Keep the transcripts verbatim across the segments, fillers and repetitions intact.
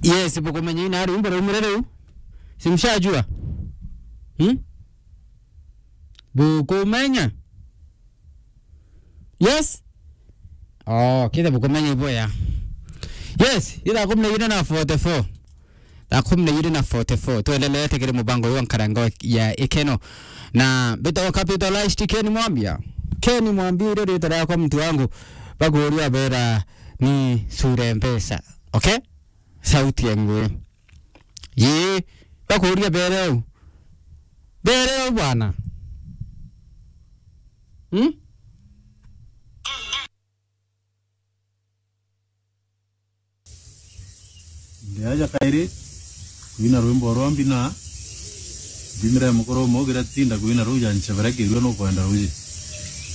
Yes, bukumenya ina rwimbo rumwe riu. Simshajua. Hmm? Bukumenya? Yes? Oh, kile bukumenya iboya. Yes, ila kumi na ine na forty-four. Thaa kumi na ijiri na forty-four, twendeleete kiri mubango uyu wa nkarango ya ikeno. Na mbitagwa Capitalist Ken Mwambia. Ken Mwambia, irio riitwa riakwa, muntu wangu, bakuuria beera ni sure mpesa. Okay? Sauti ya ngui. Yii, bakuuria beere u. Beere u bwana. Hmm? Ndiaja kairi kwina rwimbo rwa mbina, mbinire mukuru umwe ugira tinda kwina ruu ja nchebere kirua nukwenda ruji.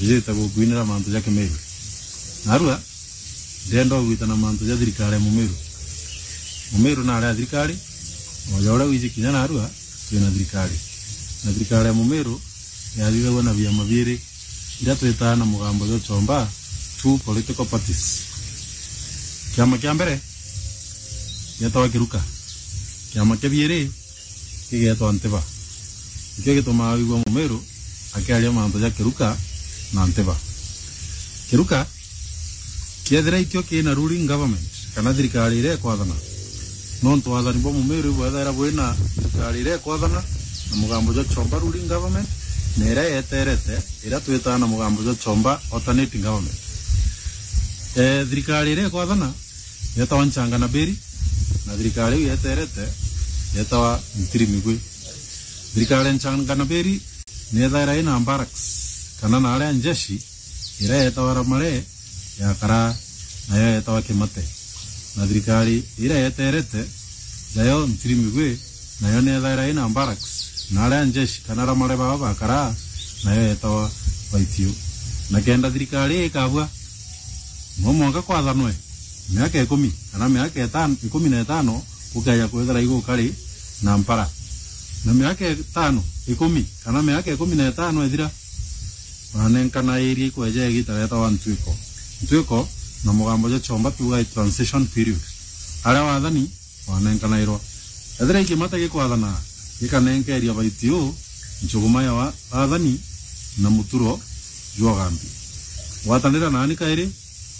Ijite gukwinira mantu ja Kimiru. Narua, ndenda ugwita na mantu ja thirikari ya Mumiru. Mumiru nari a thirikari, oja uria wiji kinya narua, twina thirikari. Na thirikari ya Mumiru yathithagua na biama biiri, iria twitaa na mugambo jwa chomba, two political parties. Kiama kia mbere gietagwa Kiruka. Kiama kia biiri kigeetwa Ntiba. Nikio gitumaa wigua Mumiru akiaria mantu ja Kiruka na Ntiba. Kiruka kiethira ikio kina ruling government kana thirikari iria ikwathana, nontu wathani bwa Mumiru ibwethaira bwina thirikari iria ikwathana na mugambo jwa chomba ruling government, na iria yeterete, iria twitaa na mugambo jwa chomba alternating government. Eh, thirikari iria ikwathana yetawa Nchanga na Beri, na thirikari iu yeterete yetawa Ntiri Migwi. Thirikari ya Nchanga na Beri ni yethaira ina barracks kana na aria njeshi, iria yetawa Ramare ya Karaa, nayo yetawa Kimate. Na thirikari iria yeterete, nayo Ntiri Migwi, nayo ni yethaira ina barracks, na aria njeshi kana Ramare baba ba Karaa, nayo yetawa Baitio. Na kenda thirikari ii ikabua, no mwanka kwathanwe miaka ikumi kana miaka itano, ikumi na itano, gukeja kwithira igukari na mpara. Na miaka itano, ikumi, kana miaka ikumi na itano ithira, banenkana iria ikweja igita retagwa ntwiko. Ntwiko na mugambo jwa chomba tuuga i transition period. Aria wathani banenkanairwa. Ethira i Kimate gikwathana, gikanenkeria Baitio nchuguma ya wa-, wathani na muturo jwa ugambi. Gwatanira naani kairi,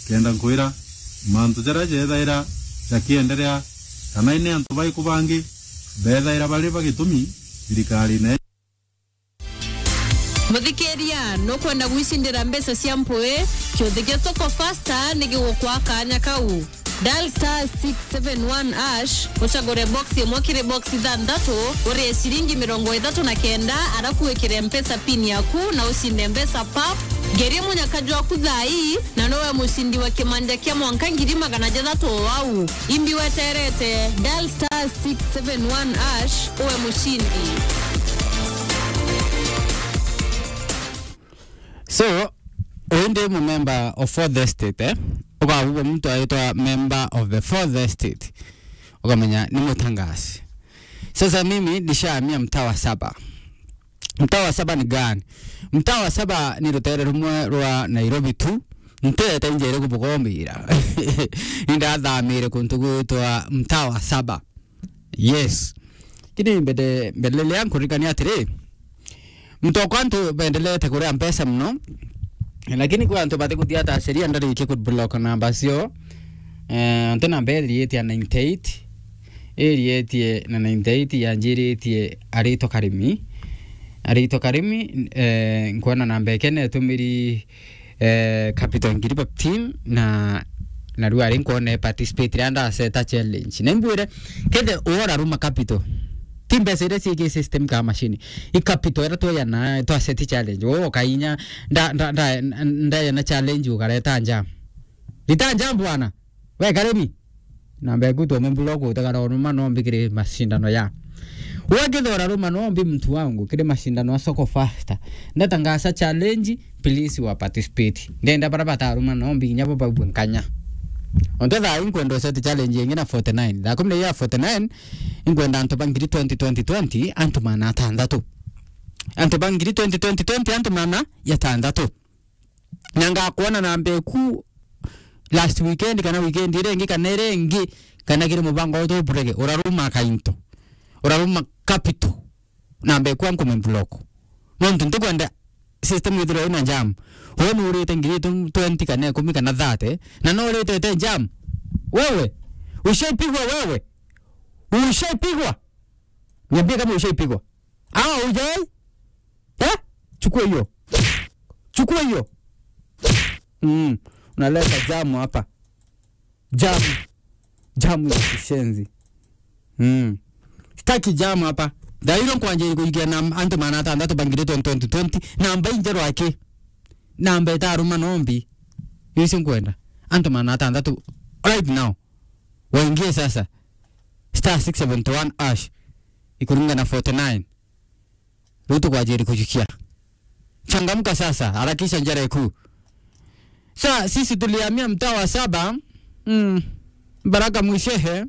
kenda nkwira mantu jaria jethaira jakienderea, kana ni antu bariku bangi bethaira bari ba gitumi thirikarine. Muthikiria, nukwenda gwicindira mbeca cia mpui? Kiuthi gia Soko Fasta ni gigukwa kanya kau. Dial star six seven one hash, ucagure box imwe kiri box ithanthatu, urie ciringi mirongo ithatu na kenda, arafu wikire Mpesa pin yaku na ucinde mbeca pap. Ngeria munyaka jwaku thaa ii, na nowe mucindi wa kimanja kia mwanka ngiri magana jathatu o au. Imbi weterete, dial star six seven one hash, uwe mucindi. So, uyu ndi mu member of fourth estate, eh? Ukabugwa muntu aitwa member of the fourth estate, ukamenya ni mutangasi. Sasa mimi nishahamia mtaa wa saba. Mtaa wa saba ni gani? Mtaa wa saba ni rutere rumwe rwa Nairobi tu. Ntete njere kubugombira. Indathamire kuntu gwitwa mtaa wa saba. Yes. Kini mbele, mbele ya nkuririkania atiri, mutokwa antu bendelete kuria mpesa muno, lakini kwi antu batikuthia ta sheria ndarikie ku block namba cio. Eh, nti namba iriitie ya ninety eight, iriitie na ninety eight yanjiritie Arito Karimi. Arito Karimi, eh, nkwona namba eke netumiri eh, capital ngiri fifteen na, na riu ari nkwona participate riria ndaseta challenge. Na imbwire, kethe uora ruma capital. Ti mbeca iria ciiki system ka machine. I capital iria tweyana, twaseti challenge. Wo ukainya, nda, nda, nda, ndeyana challenge ukareta nja. Rita nja bwana. We Karimi. Namba eku tume block utegara uruma nombi kiri mashindano ya. Wekithora ruma nombi mtu wangu kiri mashindano ya Soko Fasta. Ndatangasa challenge, please wa participate. Ndenda bara bataruma nombi kinya bo baubwe nkanya. Onto thaa inkwenda usete challenge ingi na forty nine. Thaa kumi na ijiri ya forty nine, inkwenda antu ba ngiri twenty, twenty, twenty, antu magana atanthatu. Antu ba ngiri twenty, twenty, twenty, antu magana atanthatu. Na ngakwona namba eku last weekend kana weekend iria ingi kana iria ingi, kana kiri mubango wetu uburege, uraruma kainto, uraruma capital, na mbekwa nkume block. Nontu ntikwenda system ithirwe ina jam. Wewe nurite ngiri twenty kana ikumi kana thirty, na no urite te jam. Wewe, ushaipigwa wewe? Ushaipigwa? Niambie kama ushaipigwa. Ah, hujai? Eh? Chukua hiyo. Chukua hiyo. Mm. Unaleta jamu hapa. Jamu. Jamu ya kishenzi. Mm. Sitaki jamu hapa. Thairo nkwanjiri kuigia na antu magana atandatu bangirite twenty twenty. Namba injero aki. Namba itaruma nombi. Yusi nkwenda. Antu magana atandatu right now. Waingie sasa. Star six seventy one hash. Ikuringa na forty nine. Riu tukwajiri kujukia. Changamka sasa, harakisha njara ikuu. Sa, sisi tulihamia mtaa wa saba. Mm. Baraka Mwishehe.